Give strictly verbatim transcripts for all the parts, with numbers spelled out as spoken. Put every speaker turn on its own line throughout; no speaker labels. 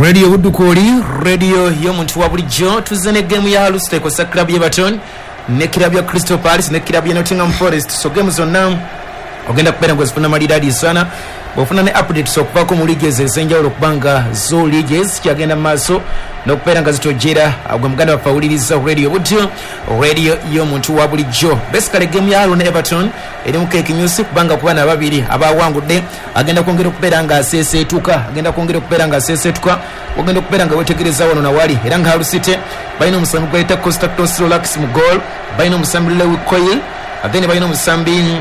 Radio Budukoli, radio y'omuntu wa bulijjo. Tuzze ne game ya Hull City ekosa club y'Everton ne club ya Crystal Palace ne club ya Nottingham Forest. So game zonna ogenda kubeera ng'ozifuna malidadi sana bw'ofuna ne updates okuvaako mu liigi ezo ez'enjawulo, okubanga zo liigi zikyagenda mu maaso n'okubeera nga zitojera. Gwe muganda waffe awuliriza Radio Budyo, radio y'omuntu wa bulijjo. Basically game ya Hull ne Everton erimu kekinyusi, kubanga ku baana babiri abawangudde agenda kwongera okubeera nga aseeseetuka, agenda kwongera okubeera nga aseeseetuka. Ogenda okubeera nga wetegereza wano nawali, era nga Hull City balina omusambi gwayita Konstantinos Rolax mu goal, balina omusambi Lewie Coyle, then balina omusambi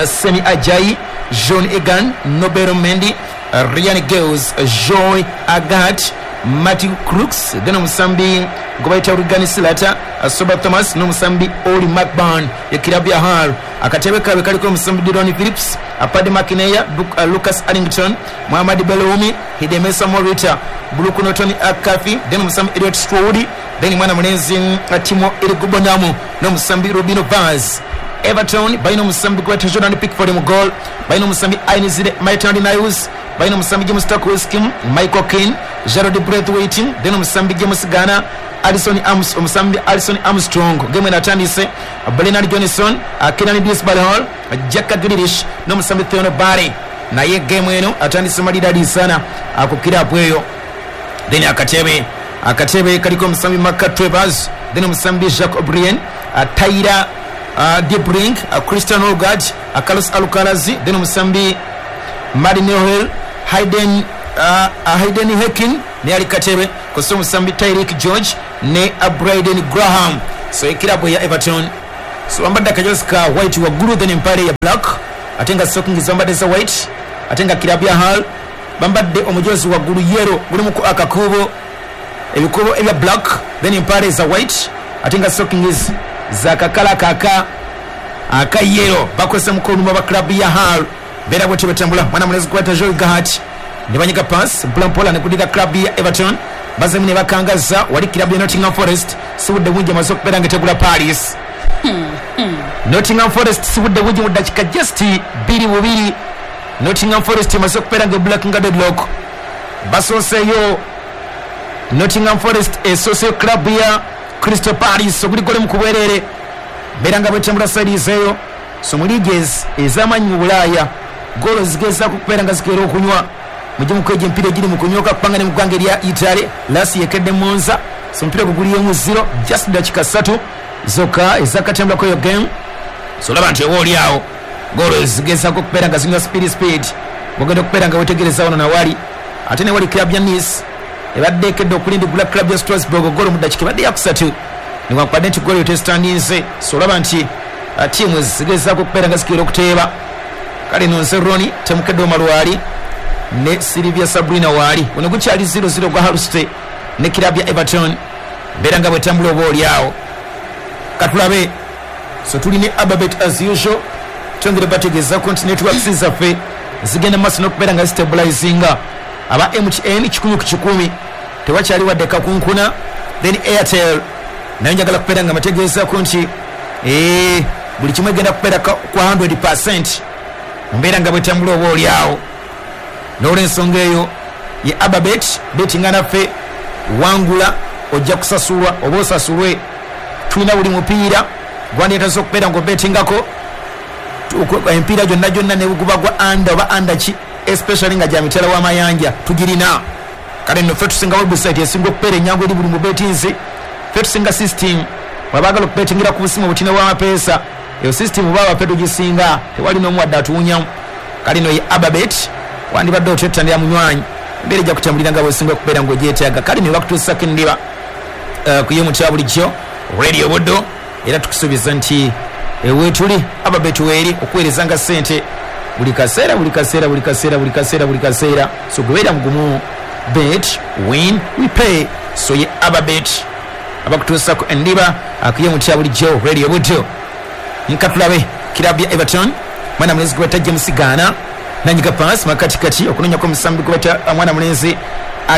Semi Ajayi, John Egan, Nobel Mendy, Ryan Gales, Joy Agat, Matthew Crooks, then omusambi gwe bayita Regan Slater, Soba Thomas n'omusambi Oli McBurn. Ekirabu ya Hull akatebe kaabwe kaliko omusambi Dillon Phillips, Paddy McNair, Lucas Arrington, Muhammad Beloumi, Hidemesa Morita, Brooke Norton Akafi, then omusambi Elliot Stroud, then mwana mulenzi Timo Irigubonamu n'omusambi Robino Vaz. Everton balina omusambi gweta Jordan Pickford mu goal, balina omusambi Ainsley Maitland Niles, balina omusambi James Tarkowski, Michael Keane, Gerald Braithwaite, then omusambi James Garner, Alison Arms, omusambi Alison Armstrong. Game enatandise Brennan Johnson, Kieran Dewsbury-Hall, Jack Grealish n'omusambi Theo Barry. Naye game eno atandise malidadi sana ku kirabu eyo. Then akatebe akatebe kaliko omusambi Mark Travers, then omusambi Jacques O'Brien, Tyler Uh, Debrink, uh, Christian Olgard, uh, Carlos Alcaraz, then omusambi Martin Hill, Hayden uh, uh, Hayden Hekin ne ali katebe koso omusambi Tyreek George ne uh, Brayden Graham. So ekirabu ya Everton so bambadde akajozi ka white waggulu, then empale ya black, ate nga stockings bambadde za white, ate nga kirabu ya Hull bambadde omujozi waggulu yellow gulimuku akakubo ebikubo ebya black, then empale za white, ate nga stockings za kakala kaka akayero. Bakozesa mukono ba club ya Hull bera bwe batambula. Mwana mulezi kwata Joel Gahat ne banyiga pass mpola ne kudira club ya Everton, bazemu ne bakangaza wali club ya Nottingham Forest. Sibudde bungi amaze okubeera nga tegula Paris. Nottingham Forest sibudde bungi mu dakika just biri bubiri. Nottingham Forest amaze okubeera nga black nga deadlock. Basooseeyo Nottingham Forest esooseeyo club ya Crystal Palace oguli gole mu kubwerere, mbeera nga bwetambula side eyo. So mu liigi ez'amaanyi mu Bulaaya goolo zigezaako okubeera nga zikeera okunywa mujye mukweja emipiira egiri mu kunyoka, kubanga ne mu ggwanga erya Italy Lasi yekedde Monza. So omupiira gwe guliyemu zero just dakika ssatu zokka ezakatambulako eyo game. So olaba nti oba oli awo goolo zigezaako okubeera nga zinywa speed speed, bwogenda okubeera nga wetegereza wano nawali. Ate ne wali club ya Nice ebadde ekedde okulindigula club ya Strasbourg goolo mu dakika ebadde yakusatu, newankubadde nti goolo tesitandinze. So olaba nti tiimu zigezaako okubeera nga zikeera okuteeba. Kale nonse Roni temukedde omalwali ne Silvia Sabrina waali. Guno gukyali zero zero gwa Hull City ne club ya Everton, mbeera nga bwetambula oba oli awo. Katulabe. So tuli ne Ababet as usual, twongere bategeezako nti networks zaffe zigenda maaso n'okubeera nga zistabilizinga. Aba M T N kikumi ku kikumi tewakyali wadde kakunkuna. Then Airtel nayo njagala kubeera nga bategeezako nti ee buli kimu egenda kubeera ku hundred percent, mbeera nga bwetambula oba oli awo. N'olwensonga eyo ye Ababet betinga naffe, wangula ojja kusasulwa oba osasulwe. Tulina buli mupiira gwandeetaza okubeera ng'obetingako emipiira gyonna gyonna ne guba gwa under oba under ki, especially nga gya mitala w'amayanja tugirina. Kale nno ffe tusinga website esinga okubeera enyangu eri buli mubetinzi. Ffe tusinga system wabaagala okubetingira ku busimu obutina bw'amapeesa, eyo system baba ffe tugisinga, tewali n'omu wadde atuwunyamu. Kale nno ye Ababet wandibadde otyettanira munywanyi, embeera ejja kutambulira nga bw'osinga okubeera ng'ogyetaaga. Kale ne bakutuusako endiba uh, ku y'omu kya bulijjo Radio Buddo, era tukusuubiza nti weetuli Ababet weeri okuweereza nga ssente buli kaseera buli kaseera buli kaseera buli kaseera buli kaseera. So gubeera mugumu, bet win we pay. So ye Ababet abakutuusako endiba ku y'omu kya bulijjo Radio Buddo. Nkatulabe kirabu ya Everton, mwana mulenzi gwe bayita James Garner nanyiga pass makatikati okunonyako omusambi gwe bayita mwana mulenzi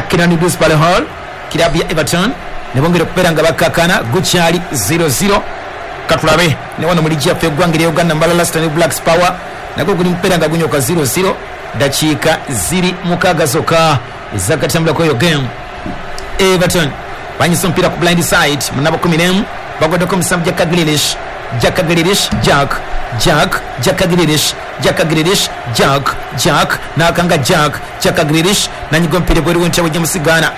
Kieran Dewsbury-Hall. Kirabu ya Everton ne bongera okubeera nga bakakana, gukyali zero zero. Katulabe ne wano mu liigi yaffe eggwanga erya Uganda Mbalala Stanley Blacks Power nagwo guli mupeera nga gunyoka zero zero, dakiika ziri mukaaga zokka Ezakatambulako eyo game. Everton banyisa omupiira ku blind side munabo kumi n'emu bagwaddeko omusambi Jack Grealish. Jack Grealish, Jack Jack Jack Grealish, Jack Grealish, Jack Jack nakanga Jack Jack Grealish nanyiga omupiira bweru w'entebe James Garner.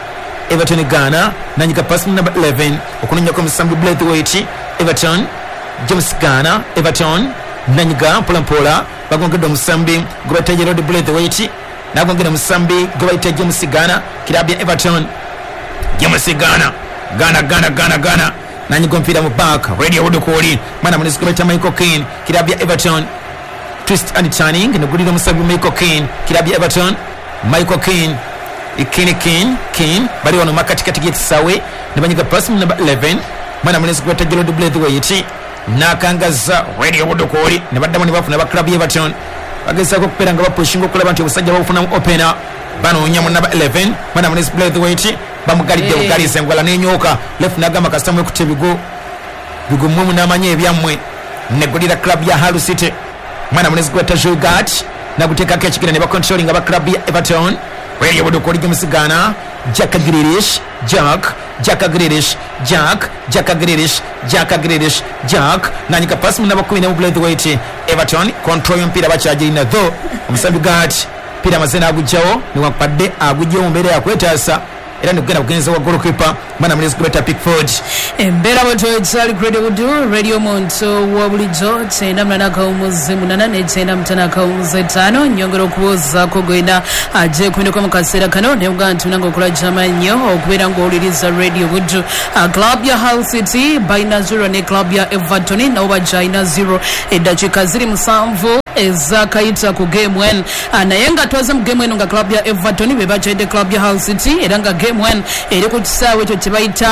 Everton Ghana nanyiga pass number eleven okunonyako omusambi Braithwaite. Everton James Garner, Everton nanyiga mpola mpola bagongedde omusambi gwe bayita Gerald Braithwaite, nagongedde omusambi gwe bayita James Garner. Kirabu ya Everton, James Garner, Ghana Ghana Ghana Ghana nanyiga omupiira mu back radio Wodokoli mwana munisi gwe bayita Michael Keane. Kirabu ya Everton twist and turning nogulira omusambi Michael Keane. Kirabu ya Everton, Michael Keane, Keane Keane Keane bali wano makatikati g'ekisaawe ne banyiga pass number eleven mwana munisi gwe bayita Gerald Braithwaite nakangaza radio Wodokoli ne baddamu ne bafuna ba club ya Everton bagezaako okubeera nga bapushinga okulaba nti obusajja babufunamu opener. Banoonya mu number eleven mwana munisi Braithwaite bamugalidde bugalize engwala n'enyooka left nagamba kasita mwekutte ebigo bigumwe munaamanya ebyammwe. Negulira club ya Hull City mwana munisi gwe bayita Jogat naguteekako ekigere ne bacontrolling aba club ya Everton. Radio Wodokoli James Garner, Jack Grealish, Jack Jack Grealish, Jack Jack Grealish, Jack Grealish, Jack nanyika pass mu namba kumi n'emu Braithwaite. Everton control y'omupiira bakyagirina tho omusambi Gat piira amaze n'agugyawo newankubadde agugyewo mu mbeera yakwetaasa era nekugenda kugenza wa goalkeeper mwana munisi gwe bayita Pickford.
Embeera bwetwetali Radio Budu, Radio Muntu wa bulijjo kyenda munaana akawumuzi munaana ne kyenda mutaano akawumuzi etaano. Nyongera okubuuzaako gwena ajje kumineko mu kaseera kano ne mugamba nti munange okola gy'amannyo okubeera ng'owuliriza Radio Budu. Club ya Hull City balina zero ne club ya Everton nabo bagyalina zero. Eddakiika ziri musanvu ezakayita ku game one, naye nga twaze mu game eno nga club ya Everton be bakyalidde club ya Hull City era nga game one eri ku kisaawe ekyo kye bayita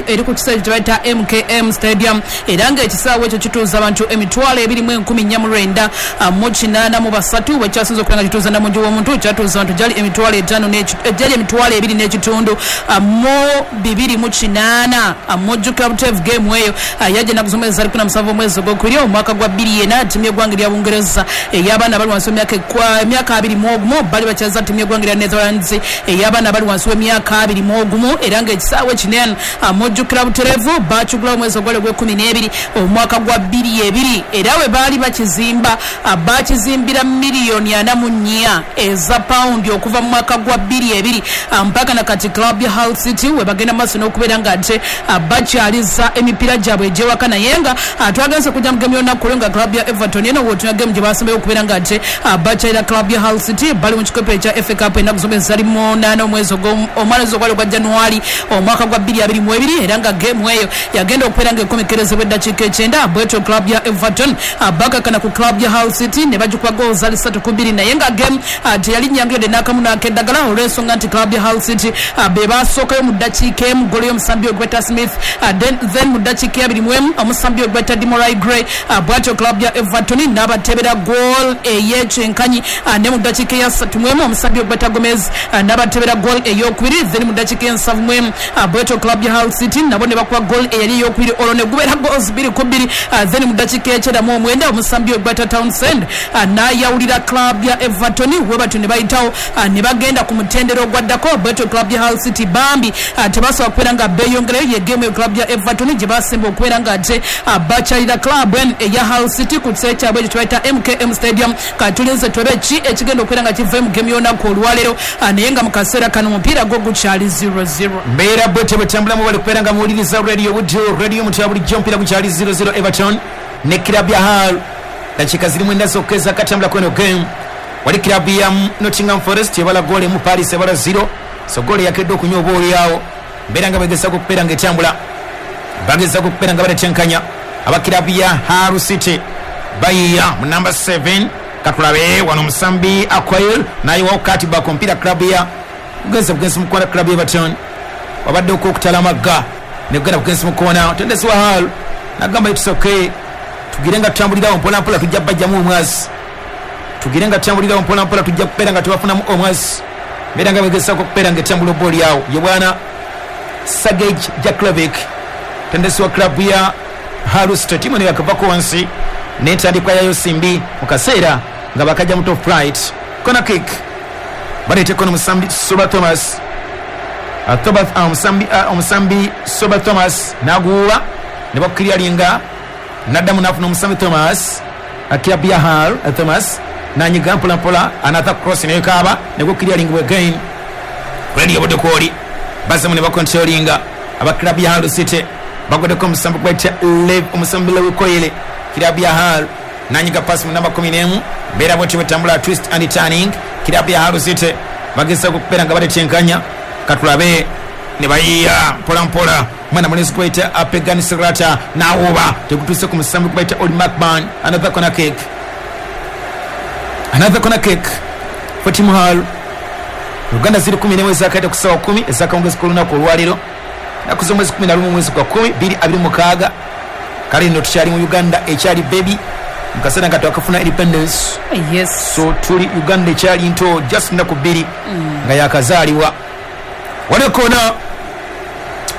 eri ku kisaawe kye bayita M K M Stadium era nga ekisaawe ekyo kituuza abantu emitwalo ebiri mu enkumi nnya mu lwenda mu kinaana mu basatu. Bwe kyasinze okubeera nga kituuza namungi w'omuntu kyatuuza abantu gyali emitwalo etaano gyali emitwalo ebiri n'ekitundu mu bibiri mu kinaana. Mujjukira buteevu game eyo yajja ennaku z'omwezi zali kumi na musanvu omwezi ogwokubiri omwaka gwa bbiri ena ttiimu y'eggwanga erya Bungereza ey'abaana abali wansi w'emyaka emyaka abiri mu ogumu bali bakyaza ttiimu y'eggwanga erya Netherlands ey'abaana abali wansi w'emyaka abiri mu ogumu era ng'ekisaawe kinene mujjukira butereevu baakigulawo omwezi ogwali ogw'ekkumi n'ebiri omwaka gwa bbiri ebiri era we baali bakizimba bakizimbira miliyoni ana mu nnya eza pawundi okuva mu mwaka gwa bbiri ebiri mpaka na kati club ya Hull City we bagenda maaso n'okubeera nga ate bakyaliza emipiira gyabwe egy'ewaka. Naye nga twagenze kujja mu gemu y'olunaku olwo nga club ya Everton eno w'otunya gemu gye basembayo okubeera nga ate bakyalira club ya Hull City bali mu kikopo ekya F A Cup ennaku z'omwezi zali munaana omwezi omwezi ogwali ogwa January omwaka gwa bbiri abiri mu ebiri era nga gemu eyo yagenda okubeera nga ekomekerezebwa eddakiika ekyenda. Bwetyo club ya Everton bakakana ku club ya Hull City ne bagikuba goal zali ssatu ku bbiri naye nga gemu teyali nnyangu yadde n'akamu n'akeddagala olw'ensonga nti club ya Hull City be basookayo mu ddakiika emu golo y'omusambi ogweta Smith, then mu ddakiika abiri mu emu omusambi ogweta Demarai Gray. Bwatyo club ya Everton n'abatebera goal ey'ekyenkanyi ne mu ddakiika eya ssatu mu emu omusambi ogweta Gomez n'abatebera goal ey'okubiri, then mu ddakiika ensanvu mu emu bwetyo club ya Hull City nabo ne bakuba goal eyali ey'okubiri olwo ne gubeera goals bbiri ku bbiri, then mu ddakiika ekyenda mu omwenda omusambi ogweta Townsend n'ayawulira club ya Everton we batyo ne bayitawo ne bagenda ku mutendera ogwaddako. Bwetyo club ya Hull City bambi tebasobola kubeera nga beeyongerayo. Ye game ya club ya Everton gye basemba okubeera nga ate bakyalira club eya Hull City ku kisaawe kyabwe ekyo kye bayita M K M Stadium. Katulinze tulabe ki ekigenda okubeera nga kiva mu game y'olunaku olwaleero, naye nga mu kaseera kano omupiira gwo gukyali zero zero.
Mbeera bwetyo bwetambulamu bali kubeera nga muwuliriza Radio Budu, Radio Mutya bulijjo omupiira gukyali zero zero Everton ne club ya Hull. Dakiika ziri mwenda zokka ezakatambula kweno game. Wali club ya Nottingham Forest ebala goal emu, Paris ebala zero. So goal yakedde okunywa oba oliawo. Mbeera nga bagezaako okubeera nga etambula, bagezaako okubeera nga baletenkanya aba club ya Hull City bayiya mu number seven. Katulabe wano musambi Akoil nayiwawo kati bako omupiira club ya bugenzi bugenzi mukoona club ya Everton wabadde okwokutala amagga negenda bugenzi mukoona tendesi wa Hull nagamba it's okay, tugire nga tutambulirawo mpola mpola tujja bajjamu omwazi, tugire nga tutambulirawo mpola mpola tujja kubeera nga tubafunamu omwazi. Mbeera nga bagezaako okubeera nga etambula obooli awo ye bwana Sergej Jaklovic tendesi wa club ya Hull City. Timu eno yakavako wansi n'entandikwa yayo simbi mu kaseera nga bakajja mu top flight. Corner kick Baleeteko n'omusambi Soba Thomas. Omusambi omusambi Soba Thomas n'aguwa ne bakukiryalinga naddamu n'afuna omusambi Thomas akirabu ya Hull. Thomas nanyiga mpola mpola another cross nekaaba negukiryalinga again. Radio Buddo kwoli bazamu ne bakontrolinga abaklabu ya Hull City bagodeko omusambi gwayita Lev omusambi Lewi Koyele kirabu ya Hull nanyiga pass mu namba kumi n'emu mbeera bwetyo bwetambula twist and turning kirabu ya Hull City bageza okubeera nga baletenkanya katulabe ne bayiya mpola mpola mwana mulenzi gwayita Apegan Sirata n'awuba tegutuuse ku musambi gwayita Oli McBurn. Another corner kick, another corner kick for Team Hull. Uganda ziri kumi n'emwe ezakaita ku ssaawa kumi ezakawungezi k'olunaku olwaleero nnaku z'omwezi kumi na lumu mwezi gwa kumi bbiri abiri mukaaga. Kale nno tukyali mu Uganda ekyali baby mu kaseera nga twakafuna independence.
Yes.
So tuli Uganda ekyali nto just nnaku bbiri nga yakazaalibwa. Waliwo koona,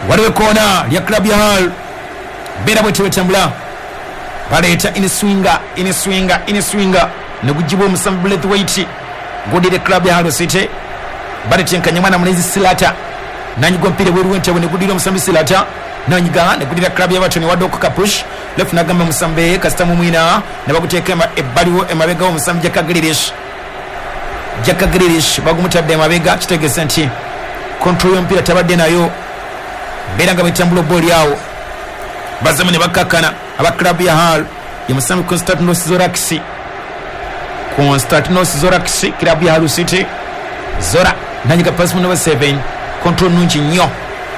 waliwo koona lya club ya Hull. Mbeera bwetyo bwetambula baleeta iniswinga iniswinga iniswinga negugibwa omusambi Braithwaite gudire club ya Hull City. Baletenkanya mwana mulenzi Silata nanyiga omupiira bweru w'entebe negudira omusambi Silata nanyiga negudira club ya Everton wadde okukapush left nagamba omusambi kasita mumwina ne baguteeka ebbaliwo emabega w'omusambi Jack Grealish. Jack Grealish bagumutadde emabega kitegeeza nti control y'omupiira tabadde nayo. Mbeera nga bwetambula obbooli awo bazemu ne bakkakkana aba club ya Hull ye musambi Konstantinos Zorakis. Konstantinos Zorakis club ya Hull City. Zora nanyiga pass mu number seven control nungi nnyo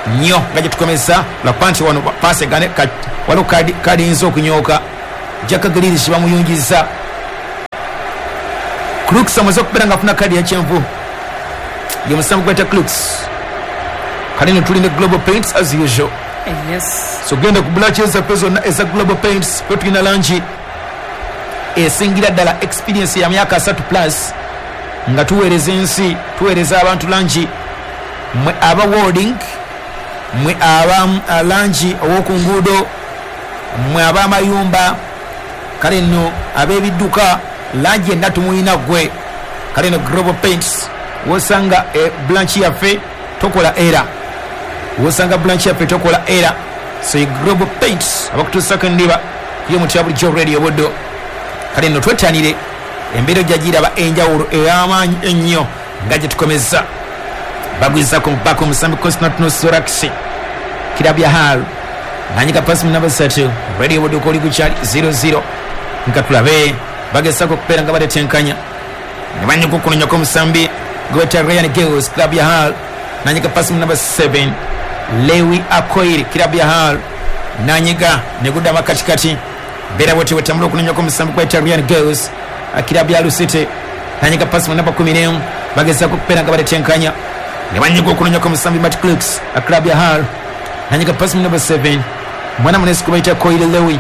nnyo nga gyetukomeza lwakuba nti wano pass egane waliwo kadi kadi eyinza okunyooka. Jack Grealish bamuyungiza. Crooks amaze okubeera nga afuna kadi ya kyenvu ye musambi gwayita Crooks. Kale nno tuli ne Global Paints as usual.
Yes.
So genda ku branch zaffe zonna eza Global Paints fe tulina langi esingira ddala experience ya myaka asatu plus nga tuweereza ensi, tuweereza abantu langi mwe aba welding, mwe aba langi ow'oku nguudo, mwe ab'amayumba, kale nno ab'ebidduka langi enna tumuyina ggwe. Kale nno Global Paints wosanga e branch yaffe tokola era, wosanga branch yaffe tokola era. So ye Global Paints abakutuusako endiba y'omuti wa bulijjo Radio Buddo. Kale nno twettanire embeera ojja enjawulo ey'amaanyi ennyo nga gye tukomeza. Bagwizako mubaka omusambi Konstantinos Zorakis kirabu ya Hull nanyiga pasi mu namba ssatu Radio Buddo koli gukyali zero zero nga tulabe bagezako okubeera nga baletenkanya ne banyuka okunonyako omusambi gweta Ryan Gills club ya Hull nanyiga pasi mu namba seven Lewi Akoiri club ya Hull nanyiga negudda makatikati mbeera bwetyo bwetambula okunonyako omusambi gweta Ryan Gills club ya Hull City nanyiga pasi mu namba kumi n'emu bagezako okubeera nga baletenkanya ne banyuka okunonyako omusambi Matt Crooks club ya Hull nanyiga pasi mu namba seven mwana munesi kubaita Koire Lewi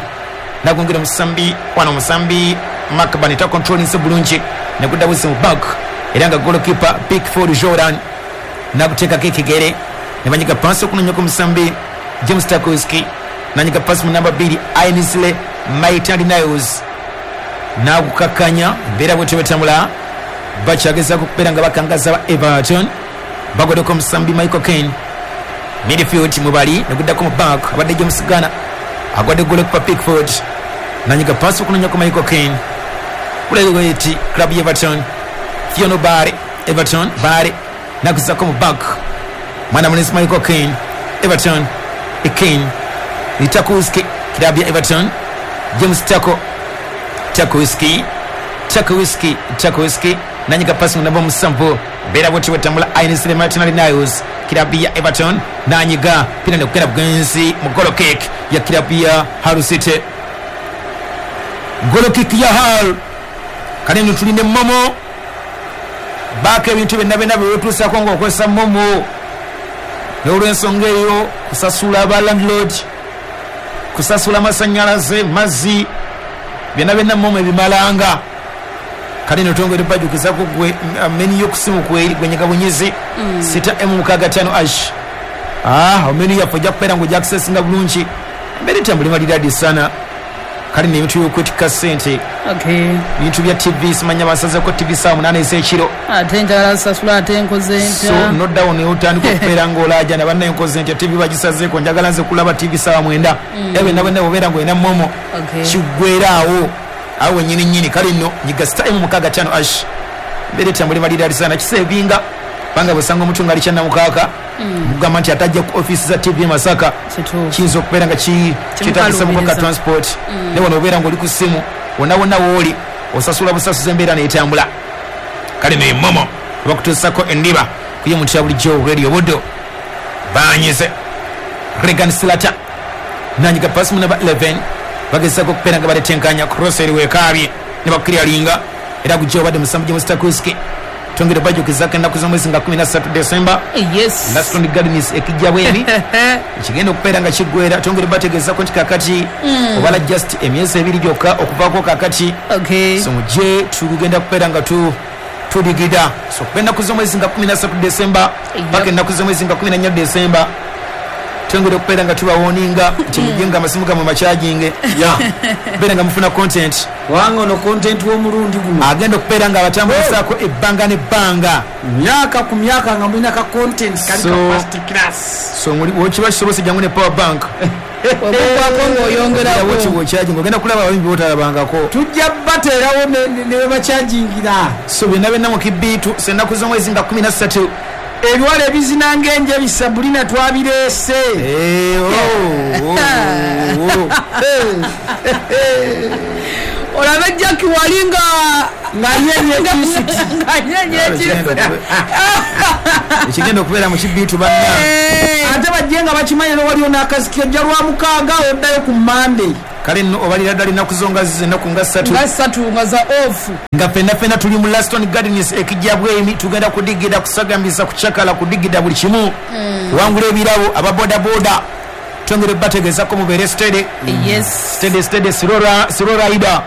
nagongera omusambi wano omusambi Macban ta controlling bulungi negudda busi mu back era nga goalkeeper Pickford Jordan naguteekako ekigere ne banyiga pasi okunonyako omusambi James Tarkowski nanyiga pasi mu namba bbiri Ainsley Maitland Niles nagukakanya embeera bwetyo bwetambula bakyagezaako okubeera nga bakangaza ba Everton bagodeko omusambi Michael Kane midfield mubali neguddako mu back abadde James Garner agwadde goalkeeper Pickford nanyiga pasi okunonyako Michael Kane kuleweti club ya Everton Fiona Barre Everton Barre nakuzako mu back mwana munesi Michael Kane Everton Kane Tarkowski club ya Everton James Tako Tarkowski Tarkowski Tarkowski nanyiga pasi mu namba musanvu mbeera bwetyo bwetambula Ainsley Maitland Niles club ya Everton nanyiga pina nekugenda bugenzi mu goal kick ya club ya Hull City. Goal kick ya Hull. Kale nno tulina momo baako ebintu byonna byonna byewetuusako ng'okozesa momo n'olw'ensonga eyo kusasula aba landlord, kusasula amasannyalaze, mazzi, byonna byonna momo ebimalanga. Kale nno twongere bajjukizako gwe menu y'okusimu kweri gwe bunyizi sita emu mukaaga ttaano ash ah menu yaffe ojja kubeera ng'ojja accessinga bulungi embeera etambula maliradi sana Kale n'ebintu by'okwetikka ssente,
Okay.
ebintu bya T V, simanya basazeko T V saawa munaana ez'ekiro.
Ate njagala sasula, ate nkoze
So
ntya?
Noddawo neotandika okubeera ng'olaajana, bannaye nkoze ntya, T V bagisazeeko, njagala nze kulaba T V saawa mwenda. Era byonna bwenna bwobeera ng'olina MoMo,
Okay.
kiggwera awo awo wenyini nyini. Kale nno nyiga star emu mukaaga ttaano hash, mbeera etambula maliralisana kisevinga, kubanga bwosanga omuntu nga ali kyannamukaaka, mugamba nti atajja ku ofiisi za T V e Masaka,
Kituufu.
kiyinza okubeera nga ki- kyetagisa mukoka
Kimukaluubiriza.
transport. Ne wano obeera ng'oli ku ssimu, wonna wonna wooli osasula busasuza, embeera neetambula. Kale ne MoMo bakutuusako endiba kuye muntu ya bulijjo Radio Buddo. Banyize Regan Slata, nanyiga pasi mu namba kkumi na emu, bagezako okubeera nga baletenkanya cross eri wekaabye ne bakukiryalinga, era gujja obadde musambu gye Mustakuski. Twongere bajjukizako ennaku z'omwezi nga kkumi na ssatu Desemba,
Yes.
Laston Gardens ekijja bweni kigenda okubeera nga kiggwera. Twongere bategeezako nti kakati obala just emyezi ebiri gyokka okuvaako kakati.
Okay.
So mujje, tugenda kubeera nga tu tudigida. So kuba ennaku z'omwezi nga kkumi na ssatu Desemba
Yep.
paka ennaku z'omwezi nga kkumi na nnya Desemba, twongere okubeera nga tubawoninga nti mujje nga amasimu gammwe makyajinge,
Ya.
beera nga mufuna content.
Kubanga ono content w'omulundi guno
agenda okubeera nga abatambulizaako ebbanga n'ebbanga,
myaka ku myaka nga mulina ka content kali
So-
ka first class.
So muli- wokiba kisobose, jangu ne power bank.
Ogugwako ng'oyongerako.
Wokyajinga ogenda kulaba abayimbi botalabangako.
Tujja bateerawo ne- ne ne webakyajingira.
So byonna byonna mu kibiitu ennaku z'omwezi nga kkumi na ssatu.
Ebiwala ebizina ng'enje bisabulina twabireese.
Eh, oh, oh, oh.
Olabe Jaki wali nga
nga yenye
nga nyenye.
Ekigenda okube- ekigenda okubeera mu kibiitu banna.
Ate bajje nga bakimanye nowaliwo n'akaziki, ojja lwa mukaaga oddayo ku Mande.
Kale nno obalira ddala ennaku zo nga zize ennaku nga ssatu
Nga ssatu nga za off.
Nga ffenna ffenna tuli mu Laston Gardens ekijja bwemi, tugenda kudigida, kusagambisa, kucakala, kudigida buli kimu, kuwangula ebirabo. Ababodaboda twongere bategeezako mubeere steady.
Yes.
Steady, steady, slow rider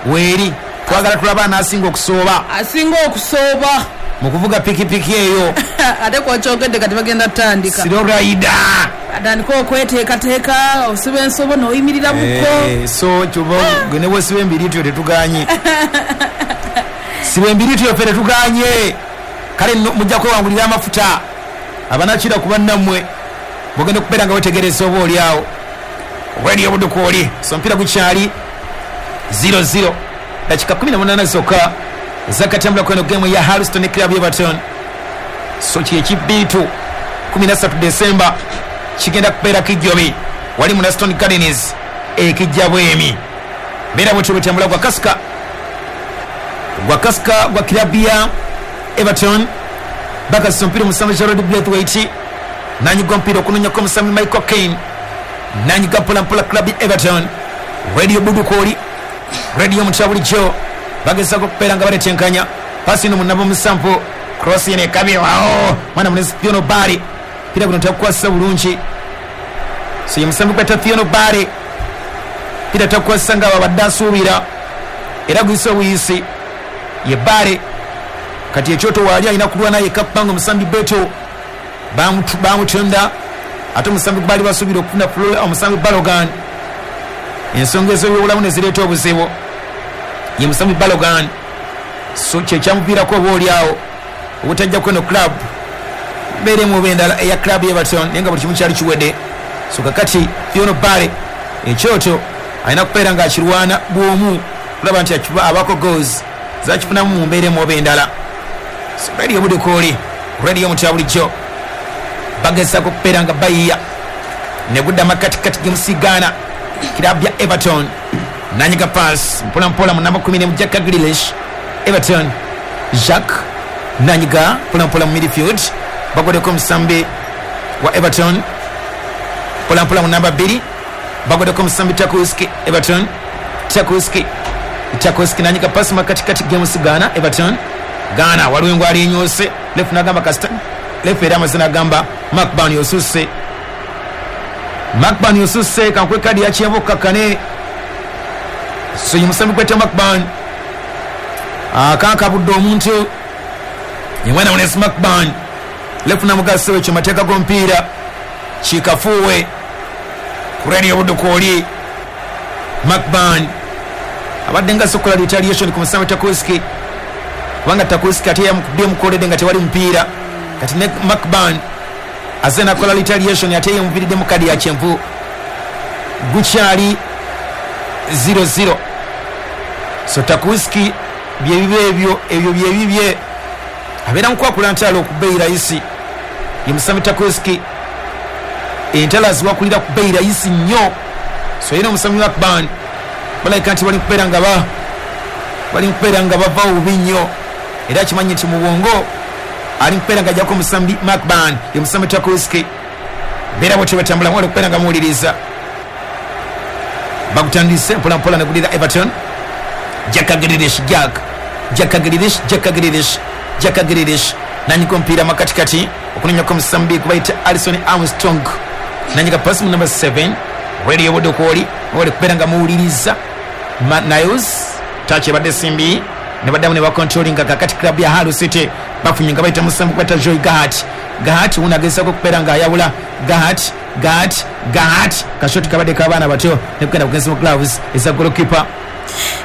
weeri, twagala tulaba anaasinga okusooba.
Asinga okusooba
mu kuvuga pikipiki eyo.
Ate kwakyogedde kati bagenda tutandika.
Slow rider.
Atandika okweteekateeka, osiba ensobo n'oyimirira muko.
Eh, so kyoba gwe ne bwesiba embiriityo tetuganye, siba embiriityo ffe tetuganye. Kale nno mujja kwewangulira amafuta, abanakira ku bannammwe mugenda okubeera nga wetegereza oba oli awo Radio Obuduka oli. So omupiira gukyali zero zero, dakika kumi na munaana zokka zakatambula kweno game ya Harleston Club Everton. So kyekibiitu kkumi na ssatu Desemba kigenda kubeera kijjobi wali mu Laston Gardens ekijja bwemi. Mbeera bwetyo bwetambula. Gwa kasika, gwa kasika gwa kilabu ya Everton, bakasisa omupiira omusambi Gerald Braithwaite, nanyiga omupiira okunonyako omusambi Michael Kane, nanyiga mpolampola club ya Everton. Radio Budukooli, radio mutya bulijjo, bagezako okubeera nga baletenkanya pasi ino munabo musampu, cross eno ekabyewawo mwana munezi Thierno Barry, pira guno takukwasisa bulungi. So ye musambi gweta Thierno Barry, pira takukwasisa nga babadde asuubira, era guyise obuyisi ye Barry. Kati ekyoto waali alina kulwana yekka kubanga omusambi Beto bamutu- bamutunda, ate omusambi gwe baali basuubira okufuna Flo- omusambi Balogan, ensonga ez'ebyobulamu ne zireeta obuzibu. Ye musambi Balogan, so kyekyamuviirako oba oli awo obutajja kweno club mbeera emu oba endala eya club Everton, naye nga buli kimu kyali kiwedde. So kakati Thierno Barry ekyoto alina kubeera ng'akirwana bwomu kulaba nti akiba- abaako goals zakifunamu mu mbeera emu oba endala. So Radio Budukooli, radio mutya bulijjo, bagezaako okubeera nga bayiya ne gudda makatikati gemusigaana kirabu ya Everton, nanyiga pass mpolampola mu namba kumi Jack Grealish. Everton Jack nanyiga mpolampola mu midfield, bagodeko omusambi wa Everton mpolampola mu namba bbiri, bagodeko omusambi Tarkowski. Everton Tarkowski, Tarkowski nanyiga pasi makatikati gemusigaana Everton Ghana, waliwo engwali enyose, ref nagamba kasita ref era amaze nagamba Macban osusse, Macban osusse, kankwe kadi yakyenvu okkakkane. So ye musambi gweta Macban akankabudde omuntu, ye mwana munesi Macban, ref namugasa ekyo mateeka g'omupiira kikafuuwe ku Radio Obuduka oli. Macban abadde nga asokola retaliation ku musambi Tarkowski, kubanga Tarkowski ate yamukubye mukoledde nga tewali mupiira. Kati ne Macban aze nakola retaliation ate yemuviiridde mu kadi ya kyenvu. Gukyali zero zero. So Tarkowski byebibe ebyo ebyo byebibye abeera mukwakula ntalo ku bbeeyi rayisi. Ye musambi Tarkowski entalo aziwakulira ku bbeeyi rayisi nnyo. So yena omusambi Macban balabika nti bali kubeera nga ba bali kubeera nga bava bubi nnyo, era kimanyi nti mu bwongo ali kubeera nga ajjako omusambi Macban ye musambi Tarkowski. Beera bwetyo batambula mwali kubeera nga muwuliriza. Bagutandise mpola mpola negulira Everton. Jack Grealish, Jack Jack Grealish, Jack Grealish, Jack Grealish nanyika omupiira makatikati okunoonyako omusambi kubayita Alison Armstrong, nanyika pasi mu number seven Radio Budokwoli wali kubeera nga muwuliriza. Niles touch ebadde simbi ne baddamu ne bacontrollinga. Kakati club ya Hull City bafunye nga bayita musambi kubayita Joy Gahart. Gahart wuno agezaako okubeera nga ayawula Gahart, Gahart, Gahart kashoti kabadde k'abaana bato ne kugenda kugenza mu gloves eza goalkeeper.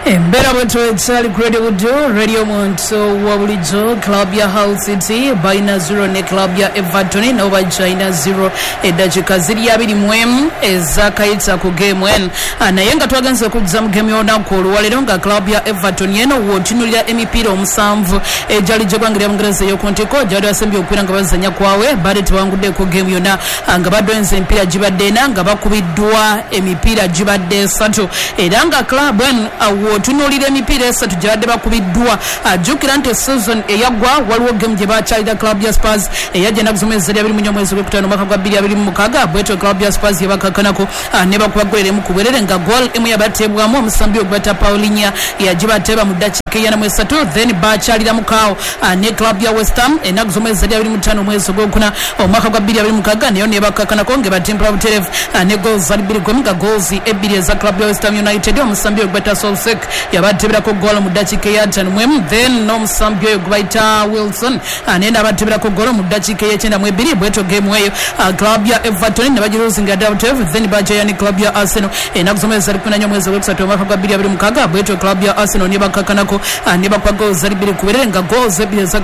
Embeera bwetyo ekyali Great Budu Radio Muntu wa bulijjo. Club ya Hull City balina zero ne club ya Everton nabo bakyalina zero. Eddakiika ziri abiri mu emu ezakayita ku game eno, naye nga twagenze okujja mu game y'olunaku olwaleero nga club ya Everton eno w'otunuulira emipiira omusanvu egyali gy'eggwanga lya Bungereza ey'oku ntikko gyali basembye okubeera nga bazannya kwawe badde tebanguddeko game yonna, nga badwenze emipiira gibadde ena nga bakubiddwa emipiira gibadde esatu, era nga club eno wotunuulira emipiira esatu gyebadde bakubiddwa. Jjukira nti season eyaggwa waliwo game gye bakyalira club ya Spurs eyajja ennaku z'omwezi zali abiri mu nnya omwezi gw'okutaano omwaka gwa bbiri abiri mu mukaaga, bwetyo club ya Spurs yebakakkanako ne bakuba goal emu ku bwerere nga goal emu yabateebwamu omusambi ogwata Paulinha yagibateeba mu ddakiika eyana mu esatu. Then bakyalira mukaawo ne club ya West Ham ennaku z'omwezi zali abiri mu ttaano omwezi ogwokuna omwaka gwa bbiri abiri mu mukaaga, nayo nebakakkanako ng'ebatimpula butereevu ne goals zali bbiri ku emu nga goals ebbiri eza club ya West Ham United omusambi ogwata Solsek yabateeberako goal mu ddakiika ey'ataano mu emu, then n'omusambi oyo gwe bayita Wilson naye n'abateeberako goal mu ddakiika ey'ekyenda mu ebiri. Bwetyo game eyo club ya Everton ne bagiruzinga ddala butereevu. Then bajaya ne club ya Arsenal ennaku z'omwezi zali kumi na nnya omwezi ogwokusatu omwaka gwa bbiri abiri mu mukaaga, bwetyo club ya Arsenal ne bakakkanako ne bakuba goals zali bbiri ku bwerere nga goals ebbiri eza